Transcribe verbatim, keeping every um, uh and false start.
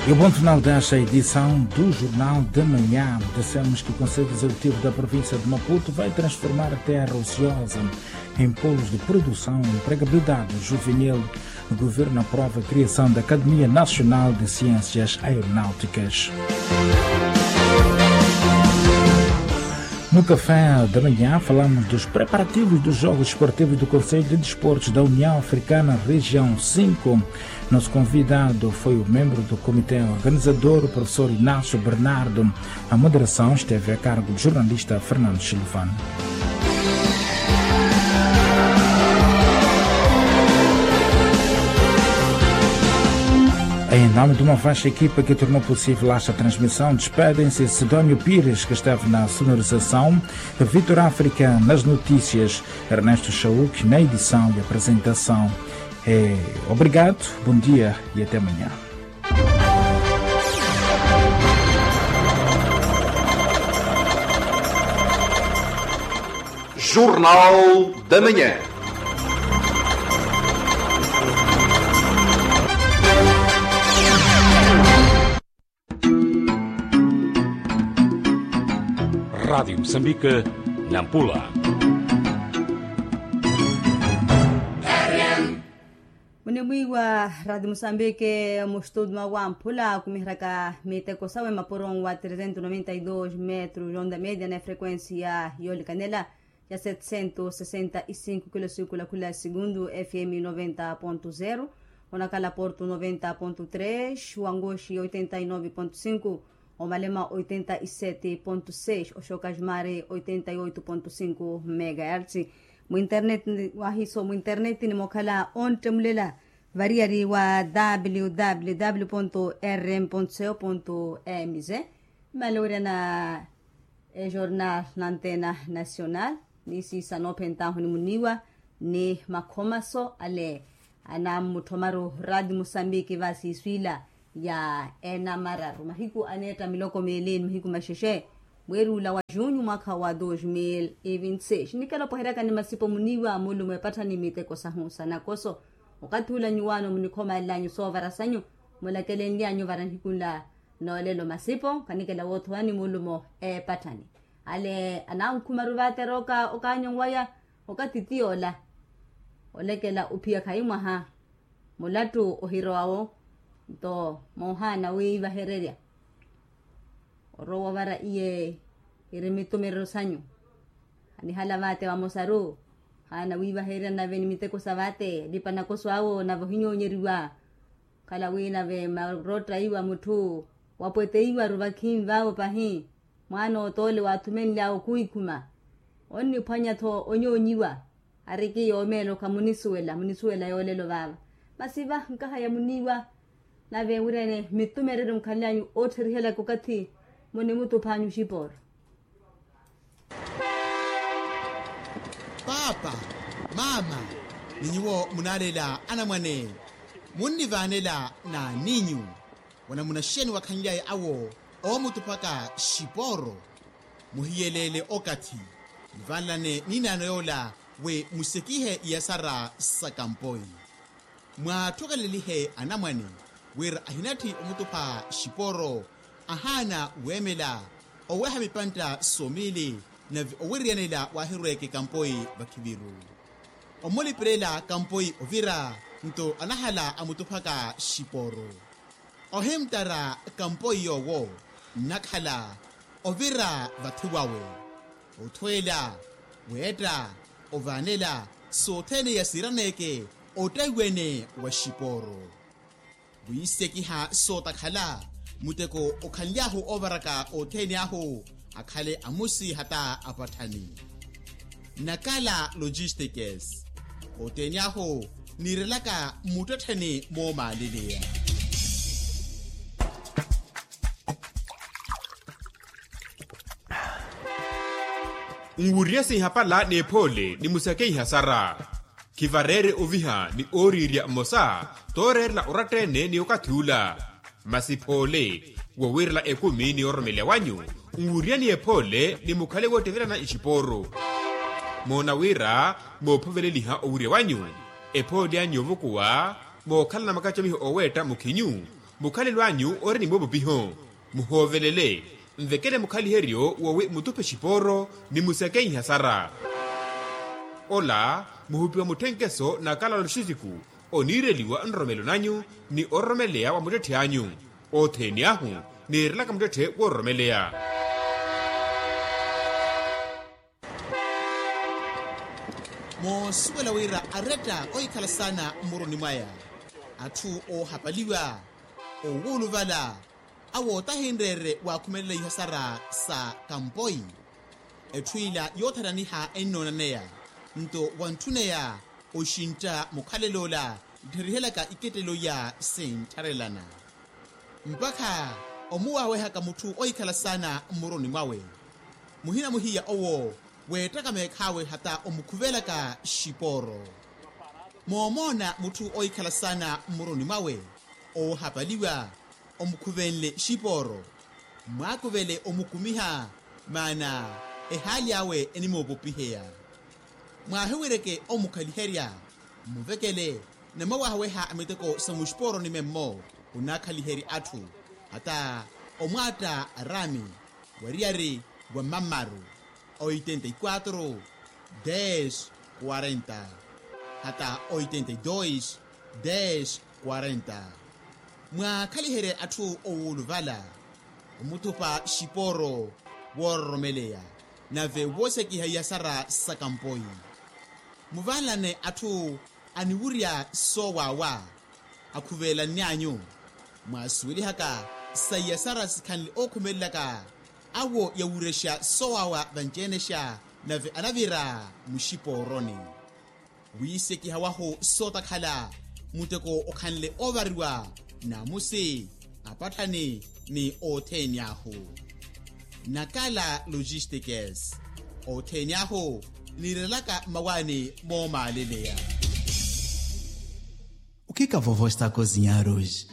E o ponto final desta edição do Jornal da Manhã. Dissemos que o Conselho Executivo da província de Maputo vai transformar terra ociosa em polos de produção e empregabilidade juvenil. O governo aprova a criação da Academia Nacional de Ciências Aeronáuticas. No Café da Manhã, falamos dos preparativos dos Jogos Esportivos do Conselho de Desportos da União Africana, Região cinco. Nosso convidado foi o membro do comitê organizador, o professor Inácio Bernardo. A moderação esteve a cargo do jornalista Fernando Silvano. Em nome de uma vasta equipa que tornou possível esta transmissão, despedem-se Sidónio Pires, que esteve na sonorização, Vitor África nas notícias, Ernesto Chauk na edição e apresentação. É, obrigado, bom dia e até amanhã. Jornal da Manhã. Rádio Moçambique, Nampula. Munimwiiwa Rádio Moçambique, mustudio mwawampula, kumiheraka miteko sawe mapuro wa trezentos noventa e dos metros onda média na frequência yoolikanela ya setecentos sessenta e cinco kilosiku la khula segundu, F M noventa ponto zero, onakhala Porto noventa ponto três, Wangoxi oitenta e nove ponto cinco, Omalema oitenta e sete ponto seis, Oxokajmare oitenta e oito ponto cinco megahertz. Mu internet, wahiso mu internet nimokhala onttemulela variyari wa www ponto rm ponto co ponto mz. Malowerya na ejornal na antena nacional, ni siisa noophentahu ni muniiwa ni makhomaso ale anammuthomaru radi musambiki va siiswiila ya enamararu mahiku aneetta miloko meeli ni mahiku maxexe. Mweeri ula wa junyu mwaakha wa dos mil e vinti seis nikela opoheryaka ni masipo muniiwa mulumo epatthani miteko sahu sa nakoso. Okathi ula nyuwaano munikhomalenlyanyu soovara sanyu, mulakelenlyanyu vara nihiku nla noolelo masipo kanikela woothowani mulumo epatthani. Ale anankhumaru vaate arooka okaanyonwaya okathi tiyoola olekela ophiya khayi mwaha. Mulattu ohirowawo nto moohaana wiivahererya orowa ovara iye iri mitumerero sanyu. Anihala vaate vamosaru haana wiivahererya nave ni miteko sa vaate alipa nakoso awo nave ohinyoonyeriwa. Khala wi nave marotta iwa mutthu wapweteiwaru vakhinvavo pahi. Mwaana otoole waathumenly'awe okhuwikhuma onniphwanya-tho onyoonyiwa. Ariki yoomeela okhamunisuwela munisuwela yoolelo vaava. Masi va nkahaya muniiwa nave enwirene mittumereryo mukhanlyanyu oottherihelaka okathi munimutuphanyu xipooro. Paapa, maama, ni nyuwo munaalela anamwane munnivaanela n'aninyu. Wanamunaxeni wakhanlyaye awo oomutuphaka xipooro. Muhiyeleele okathi muvanlane n'inaano yoola wi musekihe iyasara sa kampoi. Mwaattukelelihe anamwane wira ahinatthi omutupha xipooro ahaana weemela oweha mipantta somiili nave owiriyanela waahirweeke kampoi vakhiviru. Omulipelela kampoi ovira nto anahala amutuphaka xipooro. Ohimttara kampoi yoowo nnakhala ovira vathi wawe othweela weetta ovaanela sothene yasiiraneeke ottaiwene wa xipooro. Wiisekiha sootakhala muteko okhanly'ahu oovaraka othene ahu akhale amusi hata apatthani. Nakala logistics othene ahu niirelaka mmuttettheni moomaaleleya. Nwuriye sinhapala n'ephoole ni musakeiha sara. Khivareere oviha ni ooriirya mmosa tooreerela oratta-ene ni okathi ula. Masi phoole wowiirela ekumi ni ororomeleya wanyu nwuriyani ephoole ni mukhale woottevelana ixipooru. Moona wira moophoveleliha owirya wanyu ephoole anyu yoovukuwa mookhalana makacamiho ooweetta mukhinyu. Mukhalelo anyu ori ni moopupiho, muhoovelele, nvekele mukhaliheryo woowi mutuphe xipooro ni musekenyiha sara. Ola muhupiwa mutthenkeso na kalalo xisiku oniireliwa nroromelo nanyu ni ororomeleya wa muttetthe anyu. Othene ahu niirelaka muttetthe woororomeleya. Moosuwela wira aretta ohikhala saana mmuroni mwaya atthu oohapaliwa, owuuluvala awo tahinreerye waakhumelela ihasara sa kampoi. Etthu ila yoothananiha ennoonaneya nto wantthuneya oxintta mukhalel'ola nttherihelyaka ikettelo iya sinttharelana. Mpakha omuwaawehaka mutthu ohikhala saana mmuroni mwawe, muhina muhiya owo weettaka meekhaawe hata omukhuvelaka xipooro. Moomoona mutthu ohikhala saana mmuroni mwawe oohapaliwa omukhuvenle xipooro, mwaakuvele omukumiha, maana ehaali awe enimoopopiheya. Mwaahiwireke omukhaliherya, mmuvekele namwawaahaweha miteko sa muxipooroni memmo. Khunaakhaliherye atthu hata omwaatta araami wariyari wa mammaru, oitenta y quatro, des quarenta, hata oitenta y dos, des quarenta. Mwaakhaliherye atthu owuuluvala omuthupa xipooro woororomeleya nave woosekiha iyasara sa kampoi. Muvanlane atthu aniwurya soowaawa akhuvelanny'anyu. Mwaasuwelihaka sa iyasara sikhanle ookhumelelaka awo yawurexa soowaawa vanci-enexa nave anavira muxipooroni. Wiisekiha wahu sootakhala muteko okhanle oovariwa naamusi apatthani ni othene ahu. Nakala logistikes othene ahu niirelaka mmawaani moomaaleleya. O que que a vovó está a cozinhar hoje?